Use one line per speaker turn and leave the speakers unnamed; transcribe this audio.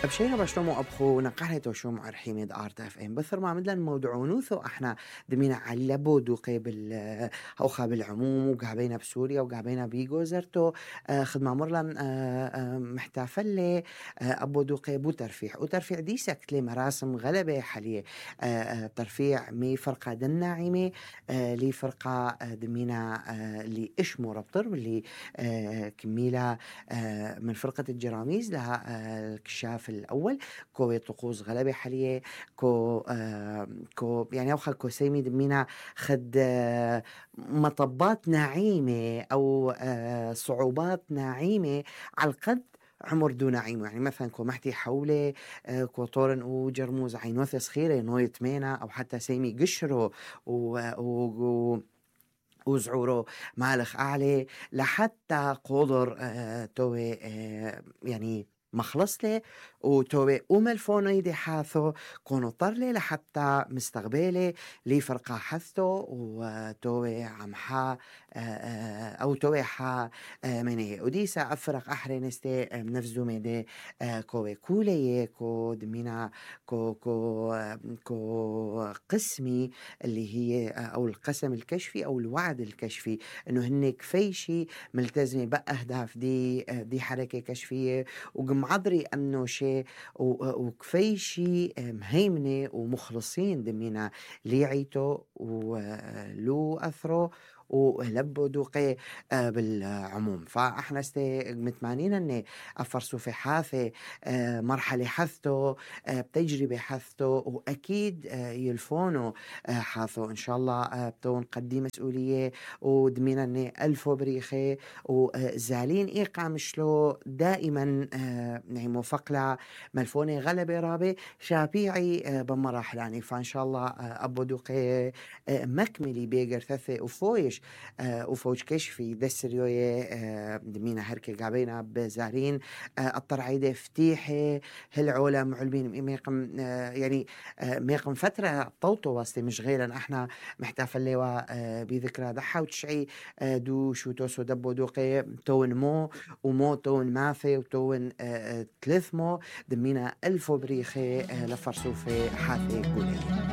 بشينا بشلومو أبخو نقحتو شو معرحيمي دارت اف ام بثر ما مدلن موضوع ونوثو احنا دمينا علبو دوقي هوخا بالعموم وقابينا بسوريا وقابينا بيغو زرتو خدمة مرلن محتافلة أبو دوقي بو ترفيع وترفيع دي سكتلي مراسم غلبة حالية ترفيع مي فرقة دناعمة لي فرقة دمينا اللي اشمو ربطر واللي كميلة من فرقة الجراميز لها الكشاف الأول كو طقوس غلبة حالية كو يعني أوخا كو سيمي دمينا خد مطبات ناعيمة أو صعوبات ناعيمة على القد عمر دون نعيمه يعني مثلا كو محتي حولي كو طورن وجرموز عينوث صغيرة نويت مينا أو حتى سيمي قشرو وزعورو مالخ أعلى لحتى قدر توي يعني مخلصلي وتوي أملفونو يدي حاثو كونو طرلي لحتى مستقبلي لي فرقا حثو وتوي عمحا أو توي حا مني وديسا أفرق أحرينستي نفزو ميدي كوي كولي كو دمينا كو قسمي اللي هي أو القسم الكشفي أو الوعد الكشفي إنه هن كفيشي ملتزمة بأهداف دي حركة كشفية وقمعضري أمنو شيء وكفيشي مهيمنة ومخلصين دمينا ليعيتو ولو أثرو ولبو دوقي بالعموم فاحنا متمانين ان افرسو في حاثة مرحلة حثتو بتجربة حثتو واكيد يلفونو حاثو ان شاء الله بتو نقدي مسؤولية ودمينا ان الفو بريخي وزالين ايقع مشلو دائما يعني موفق ملفوني غلبة رابي شابيعي بمراحلاني فان شاء الله ابو دوقي مكملي بيقر ثثي وفويش وفوج كشفي دسريوية دمينا هركي قابينا بزارين الطرعيدة فتيحي هالعولم علمين ميقم يعني ميقم فترة طوطو واسطي مش غيرا احنا محتفل لوا بذكرى ضحى وتشعي دو شو توسو دبو دوقي تون ومو تون مافي وتون تلثمو دمينا ألفو بريخي لفرسو في حاثي كولي